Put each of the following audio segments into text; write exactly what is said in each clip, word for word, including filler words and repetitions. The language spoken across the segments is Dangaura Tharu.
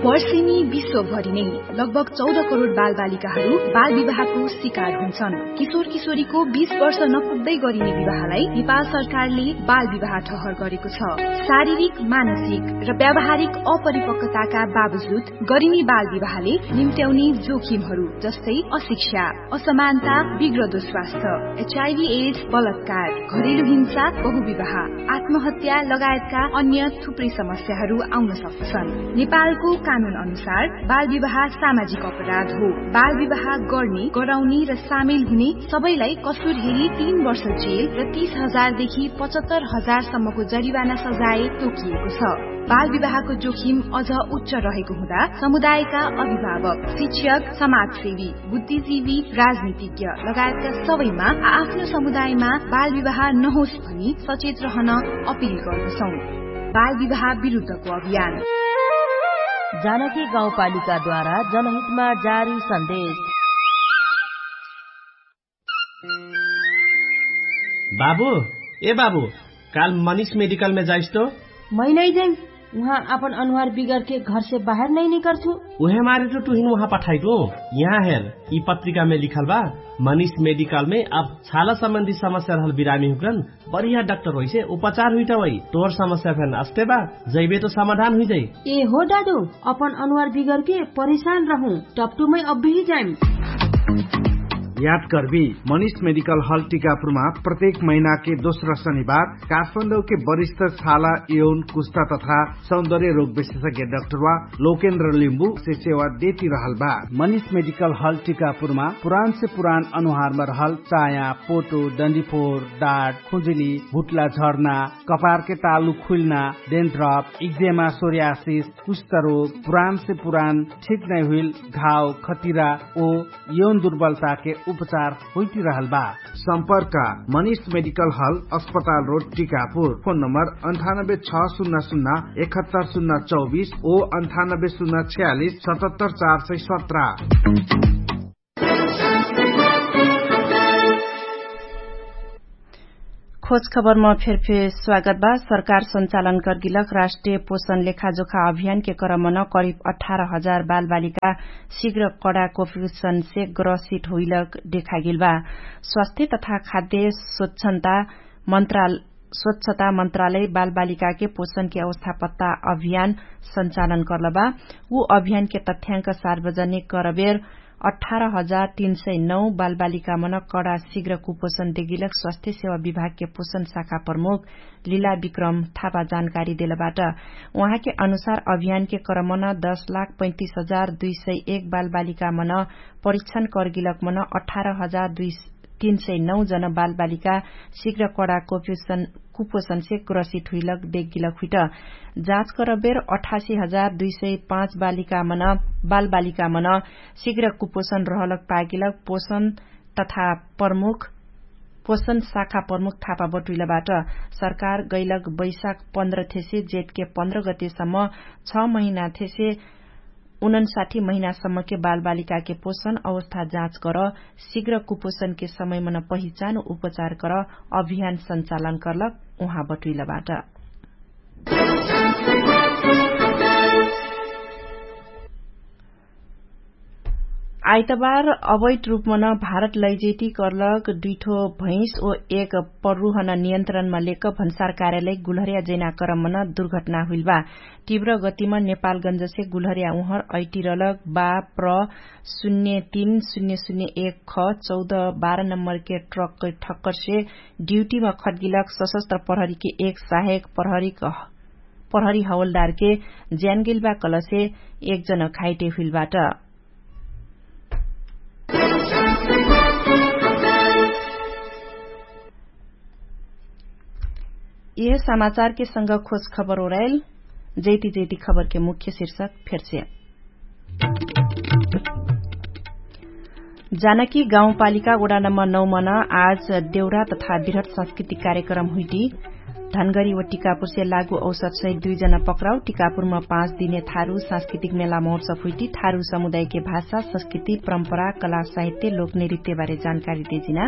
वर्षेनी विश्वभरि नै लगभग चौध करोड बालबालिकाहरू बालविवाहको शिकार हुन्छन्। किशोर किशोरीको बीस वर्ष नपुग्दै गरिने विवाहलाई नेपाल सरकारले बालविवाह ठहर गरेको छ। शारीरिक, मानसिक र व्यावहारिक अपरिपक्वताका बावजुद गरिने बालविवाहले निम्त्याउने जोखिमहरू जस्तै अशिक्षा, असमानता, बिग्रदो स्वास्थ्य, एचआइभी एड्स, बलात्कार, घरेलु हिंसा, बहुविवाह, आत्महत्या लगायतका अन्य थुप्रै समस्याहरू आउन सक्दछन्। नेपालको कानुन अनुसार बालविवाह सामाजिक अपराध हो। बालविवाह गर्ने, गराउने र सामेल हुने सबैलाई कसुर हेरी तीन वर्ष जेल र तीस हजार देखि पचहत्तर हजार सम्मको जरिवाना सजाय तोकिएको छ। बालविवाहको जोखिम अझ उच्च रहेको हुँदा समुदायका अभिभावक, शिक्षक, समाजसेवी, बुद्धिजीवी, राजनीतिज्ञ लगायतका सबैमा आ-, आफ्नो समुदायमा बालविवाह नहोस् भनी सचेत रहन अपिल गर्दछौँ। बालविवाह विरुद्धको अभियान। जानकी गाउँपालिकाद्वारा जनहितमा जारी सन्देश। बाबु, ए बाबु, काल मनिष मेडिकलमे जाइस तो? मै नै जाइम। उहाँ आपन अनुहार बिगरके घरसे बाहेर नै निकर्छु। उहे मारे तो तुहिन उहाँ पठाइटु। यहाँ हेर, यि पत्रिकामे लिखल बा, मनिष मेडिकलमे अब छाला सम्बन्धी समस्या रहल बिरामी हुक्रन बढिया डाक्टर होइसे उपचार हुइटा वइ। तोर समस्या फेन अस्ते बा, जैबे तो समाधान हुइजाइ। ए हो दादु, अपन अनुहार बिगरके परेशान रहु, टपटुमै अब्बेही जाइम। याद करबी, मनिष मेडिकल हल टिकापुरमा प्रत्येक महिनाके दोस्रा शनिबार काठमाडौके वरिष्ठ छाला, यौन, कुस्ता तथा सौन्दर्य रोग विशेषज्ञ डाक्टरवा लोकेन्द्र लिम्बु से सेवा देती रहल बा। मनिष मेडिकल हल टिकापुरमा पुरान से पुरान अनुहारमा रहल चाया, पोटो, डन्डीफोर, डाट, खुजुली, भुट्ला झर्ना, कपारके तालु खुल्ना, डेन्ड्रप, इक्जेमा, सोर्यासिस, कुष्ठरोग, पुरान से पुरान ठिक नै हुइल घाव, खतिरा ओ यौन दुर्बलताके उपचार होइतिरहल बा। सम्पर्क मनिष मेडिकल हल, अस्पताल रोड, टिकापुर। फोन नम्बर अन्ठानब्बे छ सुन्ना सुन्ना एकहत्तर सुन्ना चौबिस ओ अन्ठानब्बे सुन्ना छ्यालिस सतहत्तर चार सय सत्र। खोज खबरमा फेरफेर स्वागत बा। सरकार सञ्चालन कर्गिलक राष्ट्रिय पोषण लेखाजोखा अभियानके क्रमन करिब अठार हजार बालबालिका शीघ्र कडा कुपोषणसे ग्रसित हुइलक देखागेल बा। स्वास्थ्य तथा खाद्य स्वच्छन्ता मन्त्राल स्वच्छता मन्त्रालय बालबालिकाके पोषणके अवस्थापत्ता अभियान सञ्चालन कर्लबा। उ अभियानके तथ्याङ्क सार्वजनिक करबेर अठार हजार तीन सय नौ बालबालिकामन कडा शीघ्र कुपोषण देगिलक स्वास्थ्य सेवा विभागके पोषण शाखा प्रमुख लिला विक्रम थापा जानकारी देलबाट। उहाँके अनुसार अभियानके क्रमन दश लाख पैतिस हजार दुई सय एक बालबालिकामन परीक्षण कर्गिलकमन अठार हजार दुई तीन सय नौ जन बालबालिका शीघ्र कडा कुपोषण कुपोषणसे ग्रसित हुइलक देगिलक हुइट। जाँच करबेर अठासी हजार दुई सय पाँच बालिकामन बालबालिकामन शीघ्र कुपोषण रहलक पागिलक पोषण तथा प्रमुख पोषण शाखा प्रमुख थापा बटुइलबाट। सरकार गैलक बैशाख पन्ध्र थेसे जेठके पन्ध्र गतेसम्म छ महिना थेसे उनन्साठी महिनासम्मके बालबालिकाके पोषण अवस्था जाँच कर शीघ्र कुपोषणके समयमन पहिचान उपचार कर अभियान सञ्चालन कर्लक उहाँ बटुइलबाट। आइतबार अवैध रूपमन भारत लैजेटी कर्लक दुइठो भैंस ओ एक पर्रुहन नियन्त्रणमा लेक भन्सार कार्यालय गुलहर्या जैना करममन दुर्घटना हुइलबा। तीव्र गतिम नेपालगञ्जसे गुलहर्या उहर ऐटिरलक बा प्र शून्य तीन शून्य शून्य एक ख चौध बाह्र नम्बरके ट्रककै ठक्करसे ड्युटीम खट्गिलक सशस्त्र प्रहरीके एक सहायक प्रहरी हवलदारके ज्यानगेलबा कलसे एक जन घाइटे हुइलबाट। यह समाचारके संग खोज खबर ओराइल। जैती जैती खबरके मुख्य शीर्षक फेरसे। जानकी गाउँपालिका वडा नम्बर नौ मन आज देउरा तथा बिरहट सांस्कृतिक कार्यक्रम हुइटी। धनगरी व टिकापुरसे लागु औसत सहित दुई जना पक्राउ टिकापुरमा पाँच दिने थारु सांस्कृतिक मेला महोत्सव हुइटी थारु समुदायके भाषा संस्कृति परम्परा कला साहित्य लोक नृत्यबारे जानकारी देजिना।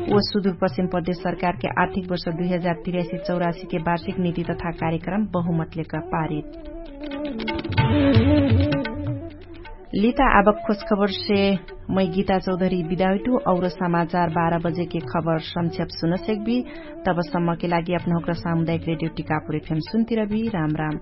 व सुदुर पश्चिम प्रदेश सरकारके आर्थिक वर्ष दुई हजार तिरासी चौरासीके वार्षिक निति तथा कार्यक्रम बहुमतलेक पारित। लिता आबक खोजखबरसे मै गीता चौधरी बिदाउटु। और समाचार बाह्र बजेके खबर संक्षेप सुन सेक्बी। तबसम्मके लागि अपनहुँक्र सामुदायिक रेडियो टिकापुर एफएम सुन्तिरबी। राम राम।